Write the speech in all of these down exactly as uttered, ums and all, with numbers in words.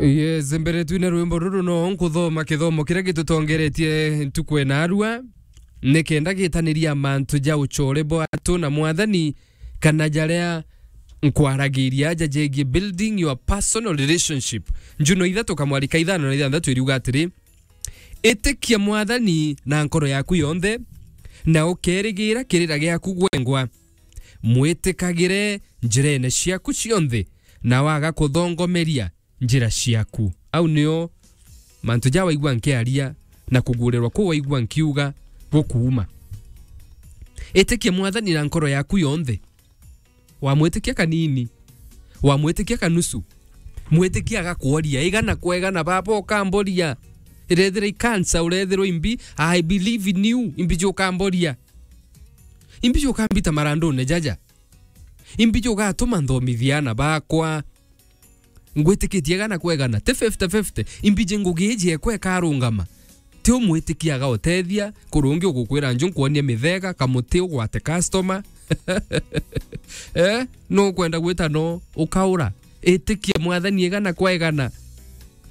Yes, mbere twine rwimbo ruru no nkuthoma kithomo kiria gitutongeretie ntuku ena arua, nikenda gitaniria mantu ja ucore bwatu na Mwathani, kana jaria nkwaragiria aja jegie building your personal relationship. Njuno ithatu kamwari ka ithano na ithanthatu iriuga atiri, itikia Mwathani na nkoro yaku yonthe, na ukerigira kirira giaku gwengwa. Mwitikagire njirene ciaku cionthe, na waga kuthongomeria njira ciaku. Au nio mantu ja waigua nkiaria, na kugurirwa kuu waigua nkiuga gukuuma. Itikia Mwathani na nkoro yaku yonthe. Wamwitikia kanini, wamwitikia kanusu, mwitikia agakworia, igana kwa igana, baba, ukamboria. Irethira i cancer, urethirwa imbi, I believe in you, imbi jo ukamboria. Imbi jo ukambita marandune jaja. Imbi jo ugatuma nthomithia ana bakwa. Ngwitikitie igana kwa igana, ti fifty fifty. Imbiji ngugi iji ekwa ikarungama. Ti umwitikia agautethia, kuri ungi ugukwira nju nkwonie mithega, kamuti ugwate customer. Eh, no ukwenda gwita no ukaura. Itikia Mwathani igana kwa igana.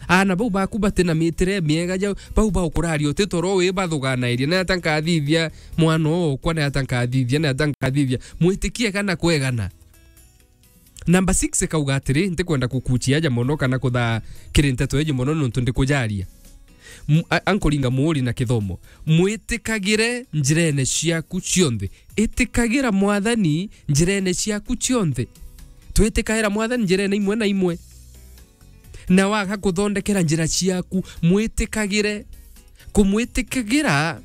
Ana bau baku bati na mitire miega jau, bau baukuraria uti toro wi bathuganairie, na ata nkathithia mwana okwa, na ata nkathithia, na ata nkathithia. Mwitikie igana kwa igana. Number six ikauga atiri, ntikwenda kukuchia aja mono kana kuthaa kiri nteto iji mono nontu ndikujaria. M-, a-, ankuringa muuri na kithomo. Mwitikagire njirene ciaku cionthe. Itikagira Mwathani njirene ciaku cionthe. Twitikagira Mwathani njirene imwe na imwe. Na waga kuthondekera njira ciaku, mwitikagire. Kumwitikigira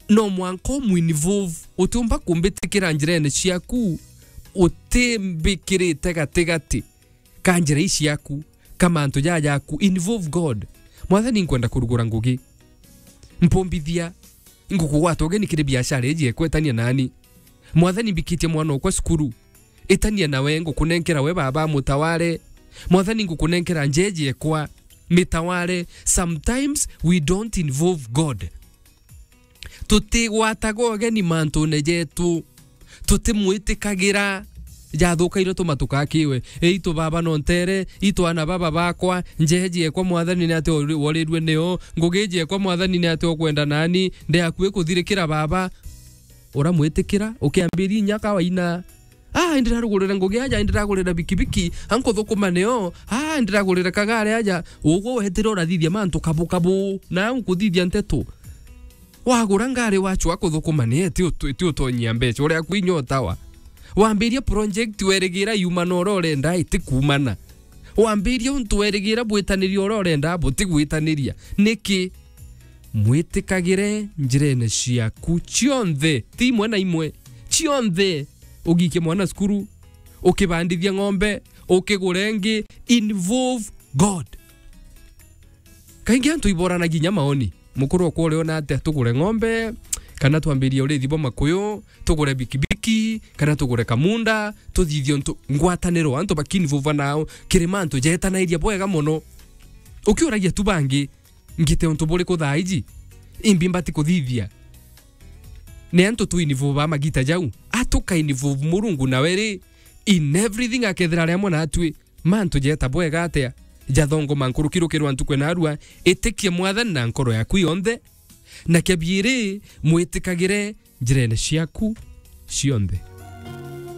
no mwanka umu involve. Utiumba kumbitikira njirene ciaku utimbikirite gatigati ka njira ii ciaku, ka mantu jaa jaku. Involve God. Mwathani, nkwenda kurugura ngugi. Mpumbithia. Ingukugwata ugeni kiri biashara iji ekwetania nani. Mwathani, mbikitie mwana okwa cukuru. Itania nawe, ngukunenkera we baba mutaware. Mwathani, ngukunenkera njeji ekwa mitaware. Sometimes we don't involve God. Tutigwataga ugeni mantune jetu. Tutimwitikagira. Jathukaire tuma tukakiwe. Eitu baba no ntere, itu ana baba bakwa, njeji ekwa Mwathani ni ati wori-, worirue nio, ngugi iji ekwa Mwathani ni ati ukwenda nani, ndi akui kuthirikira baba. Uramwitikira, ukiambiria inya kawaina. Ah, indiragurira ngugi aja, indiragurira bikibiki, ankuthukuma nio. Ah, indiragurira kagare aja. Ugu wetire urathithia mantu kabu kabu, na nkuthithia nteto. Wagura ngari wachwa kuthukuma ni eti utu-, eti utonyia mbeca, uria kwinya utawa. Wambiria project werigira yuma na uria urenda itikumana. Wambiria untu werigira bwitaniria uria urenda butigwitaniria. Niki? Mwitikagire njirene ciaku cionthe, ti imwe na imwe, cionthe. Ugikie mwana cukuru, ukibandithia ng'ombe, ukigure ingi, involve God. Kaingi antu iboranagia inya maoni. Mukuru okwa uriona atia, tugure ng'ombe, kana twambirie urithi bwa makuyu, tugure bikibiki, kana tugure kamunda, tuthithie untu ngwataniro antu bakinvolva nao, kiri mantu jetanairia bwega mono. Ukiuragia tu bangi, ngite untu buriku thaa iji, imbi mbati kuthithia? Ni antu tuinvolva magita jau, atukainvolve Murungu nawe ri, in everything akethira ari amwe natwi. Mantu jeeta bwega atia? Jathongoma nkuruki rukirwa ntuku na arua, itikia Mwathani na nkoro yaku yonthe, na kia biiri, mwitikagire njirene ciaku cionthe.